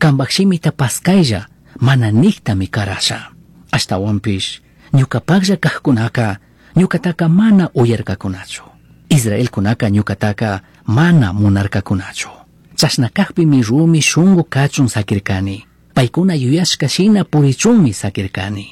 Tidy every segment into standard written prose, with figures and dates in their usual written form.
Cambaj shimita pascailla mana nijtami carasha. Ashtahuanpish ñucapajlla cajcunaca ñucataca mana uyarcacunachu. Israelcunaca ñucataca mana munarcacunachu. Chashna cajpimi rumi shungu cachun saquircani. Paicuna yuyashca shina purichunmi saquircani.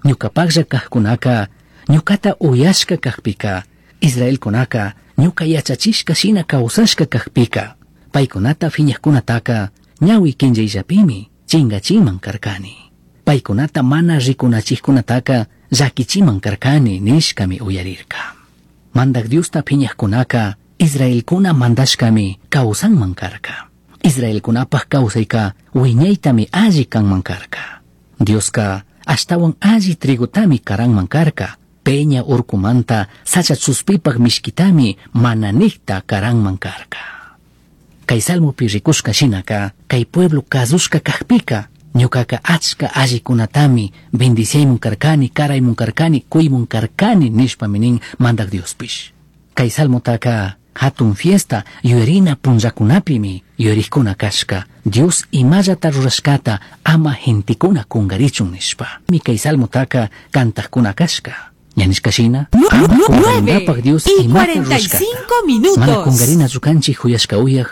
Ñucapajlla cajcunaca ñucata uyashca cajpica, Israelcunaca ñuca yachachishca shina causashca cajpica, paicunata fiñajcunataca ñahui quinllaillapimi chingachiman carcani. Paicunata mana ricunachijcunataca llaquichiman carcani nishcami uyarirca. Mandaj Diosta phiñajcunaca Israelcuna mandashcami causanman carca. Israelcunapaj causaica huiñaitami alli canman carca. Diosca ashtahuan alli trigotami caranman carca. Peña urcumanta sacha chuspipaj mishquitami mana nijta caranman carca. Cai salmopi ricushca shinaca, cai pueblo cazushca cajpica, ñucaca achca allicunatami bendiciaymun carcani, caraymun carcani, cuymun carcani nishpami nin Mandaj Diospish. Cai salmotaca hatun fiesta yuyarina punllacunapimi yuyarijcuna cashca, Dios imallata rurashcata ama gentecuna cungarichun nishpa. Mi cai salmotaca cantajcuna cashca. Ña nishca shina, ama cungaringapaj 9 Dios y imata rurashcata. 45 Mana minutos. cungarina canchij juyashca uyaj,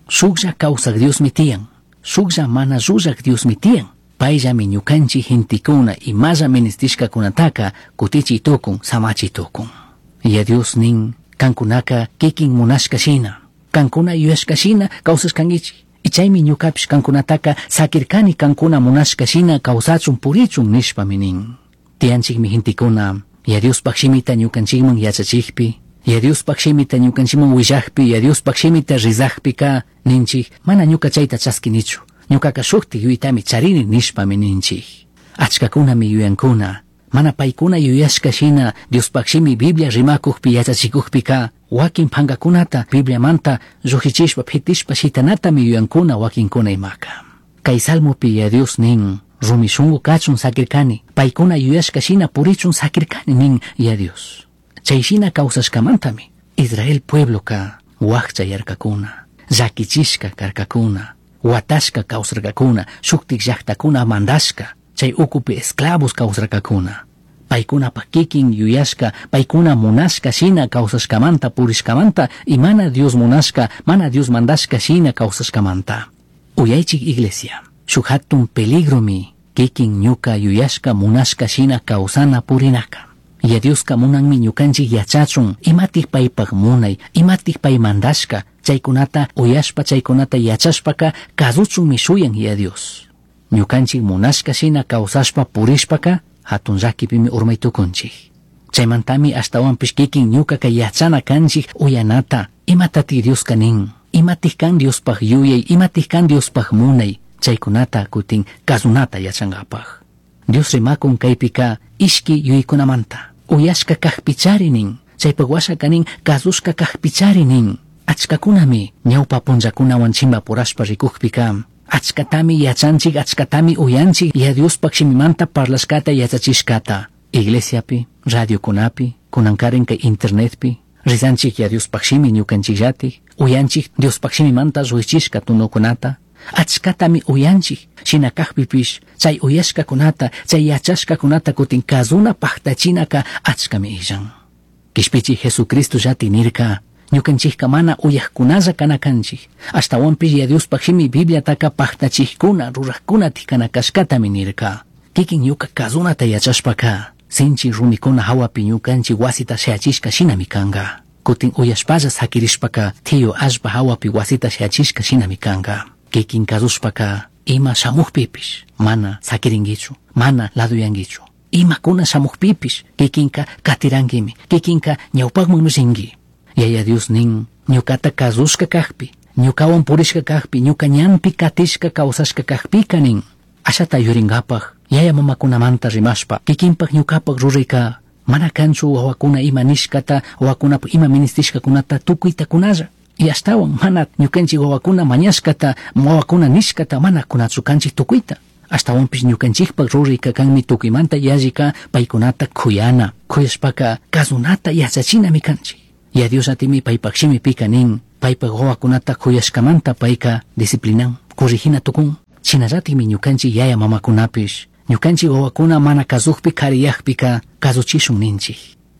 shuklla kawsaj Diosmi tiyan, shuklla mana llullaj Diosmi tiyan. Payllami ñukanchik gentekuna imalla ministishkakunataka kutichiy tukun, samachiy tukun. Ya Dios nin, kankunaka kikin munashka shina, kankuna yuyashka shina kawsashkankichik. Y chaymi ñukapish kankunataka sakirkani kankuna munashka shina kawsachun purichun nishpami nin. Tiyanchikmi gentekuna, ya Diospaj shimita ñukanchikman yachachikpi, ya Diospaj shimita ñukanchikman willajpi, ya Diospaj shimita rizajpika ninchik, mana ñuka chayta chaskinichu, ñukaka shuktik yuytami charini nishpami ninchik. Achkakunami yuyankuna, mana paykuna yuyashka shina Diospaj shimi Biblia rimakujpi yachachikujpika, wakin pankakunata Bibliamanta llujichishpa pitishpa shitanatami yuyankuna wakinkuna imaka. Kay salmopi ya Dios nin, rumi shungu kachun sakirkani, paykuna yuyashka shina purichun sakirkani nin ya Dios. Chay shina kawsashkamantami Israel puebloka wakcha yarkakuna, llakichishka karkakuna, watashka kawsarkakuna, shuktik llaktakuna mandashka, chay ukupi esclavos kawsarkakuna. Paykunapaj kikin yuyashka, paykuna munashka shina kawsashkamanta purishkamanta, y mana Dios munashka, mana Dios mandashka shina kawsashkamanta. Uyaychik iglesia, shuk hatun peligromi kikin ñuka yuyashka munashka shina kawsana purinaka. Ya Dioska munanmi ñukanchik yachachun, imatik paypaj munay, imatik pay mandashka, chaykunata uyashpa, chaykunata yachashpaka kasuchunmi shuyan ya Dios. Ñukanchik munashka shina kawsashpa purishpaka hatun llakipimi urmay tukunchik. Chaymantami ashtawanpish kikin ñukaka yachana kanchik uyanata, imatatik Dioska nin, imatik kan Diospaj yuyay, imatik kan Diospaj munay, chaykunata kutin kasunata yachankapaj. Dios rimakun kaypika ishki yuyaykunamanta, uyashka kajpichari nin, chaypaj washaka nin kasushka kajpichari nin. Achkakunami ñawpa punllakunawan chimpapurashpa rikujpika, achkatami yachanchik, achkatami uyanchik ya Diospaj shimimanta parlashkata yachachishkata. Iglesiapi, radiokunapi, kunankarin kay internetpi, rizanchik ya Diospaj shimi ñukanchikllatik, uyanchik Diospaj shimimanta ruichishka tunukunata, achkatami uyanchik, shina kajpipish, chay uyashkakunata, chay yachashkakunata kutin kazuna paktachinaka achkami illan. Kishpichi Jesucristo llati nirka, ñukanchikka mana uyajkunalla kana kanchik, ashtawanpish ya Diospaj shimi Bibliataka paktachijkuna, rurajkuna tikana kashkatami nirka. Kikin ñuka kazunata yachashpaka, sinchi rumikuna hawapi ñukanchik wasita shayachishka shinami kanka. Kutin uyashpalla sakirishpaka, tiyo allpa hawapi wasita shayachishka shinami kanka. Kikin kazushpaka, ima shamujpipish, mana sakirinkichu, mana laduyankichu. Imakuna shamujpipish, kikinka katiranquimi, kikinka ñawpakman rinki. Yaya Dios nin, ñukata kazushka kajpi, ñukawan purishka kajpi, ñuka ñanpi katishka kawsashka kajpika nin. Ashata yurinkapaj, yaya mamakunamanta rimashpa, kikinpak ñukapak rurayka, mana kanchu wawakuna ima nishkata, wawakunapaj ima ministishkakunata tukuyta kunalla. Y ashtawan mana ñukanchik wawakuna mañashkata, wawakuna nishkata mana kunachu kanchik tukuyta. Ashtawanpish ñukanchikpak rurayka kanmi tukuymanta yallika paykunata kuyana, kuyashpaka kasunata yachachinami kanchik. Ya Dios atimi paypak shimipika nin, paypak wawakunata kuyashkamanta payka disciplinan, corrigina tukun. Shinallatikmi ñukanchik yaya mamakunapish ñukanchik wawakuna mana kazukpi kariyakpika kazuchishun ninchik.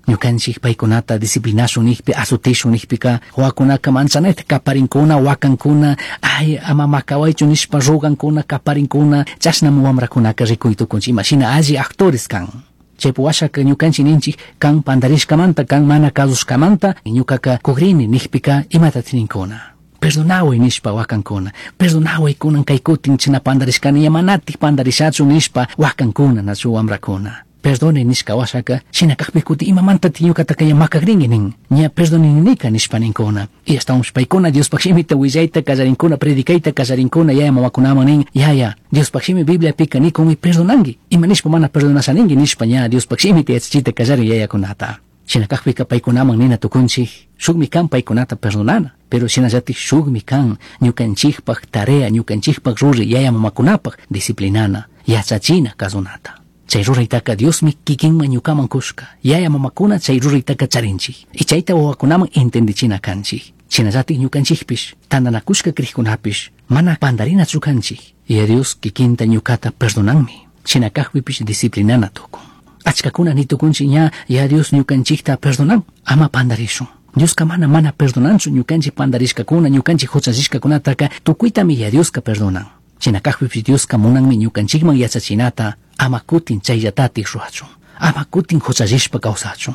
Ñukanchik paykunata disciplinashun nikpi azutishun nikpika wawakunaka manchanayta kaparinkuna wakankuna, ay ama makawaychu nishpa rugankuna kaparinkuna, chashnami wamrakunaka rikuy tukunchik imashina alli actores kan. Chaypi washaka ñukanchik ninchik kan pandarishkamanta kan mana kazushkamanta ñukaka kugrini nikpika imatatik ninkuna. Perdonaway nishpa wakankuna, perdonaway kunan kay kutin china pandarishkani manatik pandarishachu nishpa wakankuna nachu wamrakuna. Perdone nishka washaka shina kakpi kuti imamantatik ñukataka ña makakrinki nin, ña perdonininika nishpa ninkuna. Y ashtawanpish paykuna Diospaj shimita willayta kallarinkuna, predicayta kallarinkuna yaya mamakunaman nin, yaya Diospaj shimi Bibliapika nikunmi perdonanki, ima nishpa mana perdonashaninki nishpa ña Diospaj shimita yachachita kallarin yayakunata. Shina kakpika paykunaman nina tukunchik, shukmi kan paykunata perdonana, pero shinallatik shukmi kan ñukanchikpaj tarea, ñukanchikpaj ruray yaya mamakunapaj disciplinana, yachachina kazunata. Chay ruraytaka Diosmi kikinman ñukaman kushka, yaya mamakuna chay ruraytaka charinchik, y chayta wawakunaman entendichina kanchik. Shinallatik ñukanchikpish, tantanakushka krikkunapish, mana pandarinachu kanchik, y Dios kikinta ñukata perdonanmi, shina kakpipish disciplinana tukun. Achkakuna ni tukunchik ña, ya Dios ñukanchikta perdonan, ama pandarishun. Dioska mana mana perdonanchu ñukanchik pandarishkakuna, ñukanchik huchallishkakunataka tukuytami ya Dioska perdonan. Shina kakpipish Dioska munanmi ñukanchikman yachachinata, ama kutin chayllatatik ruwachun, ama kutin huchallishpa kawsachun.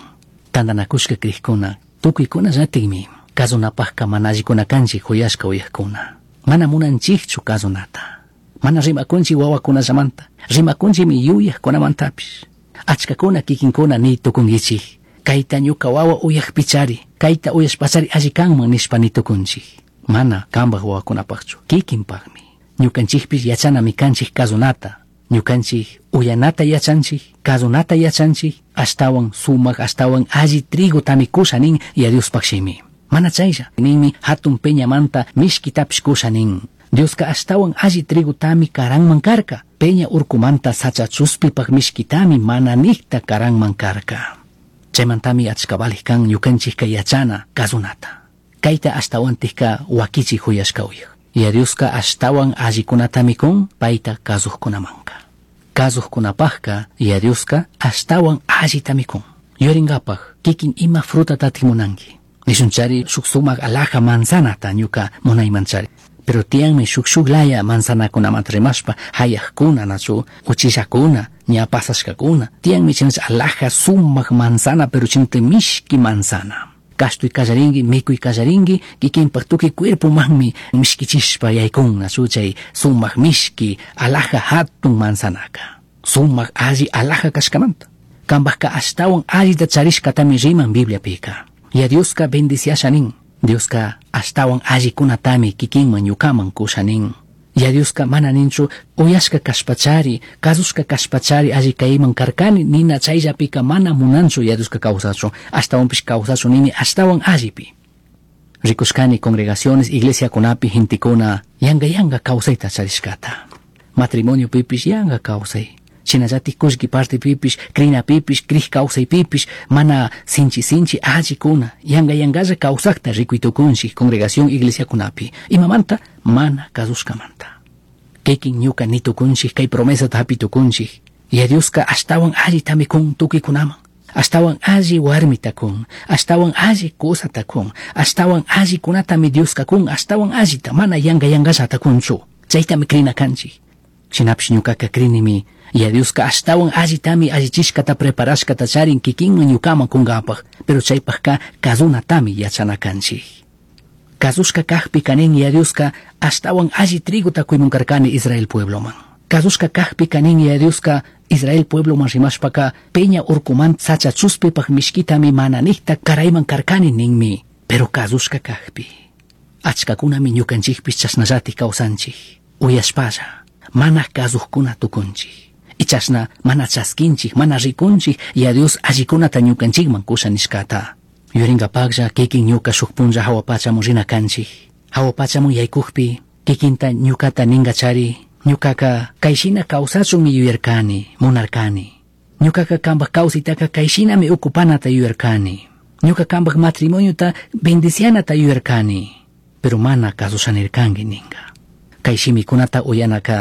Tantanakushka krikuna, tukuykuna llatikmi, kazunapajka mana allikuna kanchik huyashka uyajkuna. Mana munanchikchu kazunata. Mana rimakunchik wawakunallamanta, rimakunchikmi yuyajkunamantapish. Achkakuna kikinkuna ni tukunkichik, kayta ñuka wawa uyajpichari, kayta uyashpachari alli kanman nishpa ni tukunchik. Mana kanpaj wawakunapajchu, kikinpajmi. Ñukanchikpish yachanami kanchik kazunata, ñukanchik uyanata yachanchik, kazunata yachanchik, ashtawan sumak, ashtawan alli trigotami kusha nin ya Diospaj shimi. Mana chaylla, ninmi hatun peñamanta mishkitapish kusha nin. Dioska ashtawan alli trigotami karanman karka, peña urkumanta sacha chuspipaj mishkitami mana nikta karanman karka. Chaymantami achka valij kan ñukanchikka yachana kazunata. Kayta ashtawantikka wakichik huyashka uyaj. Ya Dioska ashtawan allikunatami kun payta kazujkunamanka. Kazujkunapajka ya Dioska ashtawan allitami kun. Yuringapaj kikin ima frutatatik munanki. Nishunchari shuk sumak alhaja manzanata ñuka munaymanchari. Pero tiyanmi shuk shuk laya manzanakunamanta rimashpa hayajkuna nachu uchillakuna ña pasashkakuna. Tiyanmi chinach alhaja sumak manzana pero chinate mishki manzana. Kashtuy kallarinki, mikuy kallarinki, kikinpaj tukuy cuerpomanmi mishkichishpa yaykun nachu chay sumak mishki alhaja hatun manzanaka. Sumak alli alhaja kashkamanta. Kanpajka ashtawan allita charishkatami riman Bibliapika. Ya Dioska bendiciasha nin. Dioska ashtawan allikunatami kikinman ñukaman kusha nin. Ya Dioska mana ninchu uyashka kashpachari, kazushka kashpachari alli kayman karkani nina chayllapika mana munanchu ya Dioska kawsachun, ashtawanpish kawsachun nini ashtawan allipi. Rikushkani congregaciones, iglesiakunapi gentekuna yanga yanga kawsayta charishkata. Matrimonio pipish yanga kawsay. Shinallatik kullki partepipish, krinapipish, krij kawsaypipish, mana sinchi sinchi allikuna, yanga yangalla kawsakta rikuy tukunchik congregación iglesiakunapi. Imamanta mana kazushkamanta. Kikin ñuka nitukunchik kay promesata hapi tukunchik. Ya Dioska ashtawan allitami kun tukuykunaman. Ashtawan alli warmita kun, ashtawan alli kusata kun, ashtawan allikunatami Dioska kun, ashtawan allita mana yanga yangallata kunchu. Chaytami krina kanchik. Shinapish ñukaka krinimi ya Dioska ashtawan allitami allichishkata preparashkata charin kikinman ñukaman kunkapaj, pero chaypajka kazunatami yachana kanchik. Kazushka kajpika nin ya Dioska ashtawan alli trigota kuymun karkani Israel puebloman. Kazushka kajpika nin ya Dioska Israel puebloman rimashpaka peña urkuman sacha chuspipaj mishkitami mana nikta karayman karkani ninmi, pero kazushka kajpi. Achkakunami ñukanchikpish chashnallatik kawsanchik, uyashpalla, mana kazujkuna tukunchik. Y chashna mana chaskinchik, mana rikunchik, ya Dios allikunata ñukanchikman kusha nishkata. Yuringapaklla kikin ñuka shuk punlla hawa pachamun rina kanchik. Hawa pachamun yaykukpi kikinta ñukata ninkachari, ñukaka kayshina kawsachunmi yuyarkani, munarkani. Ñukaka kanpak kawsaytaka kayshinami ukupanata yuyarkani. Ñuka kanpak matrimoniota bendicianata yuyarkani. Pero mana kasushanirkanki ninka. Kay shimikunata uyanaka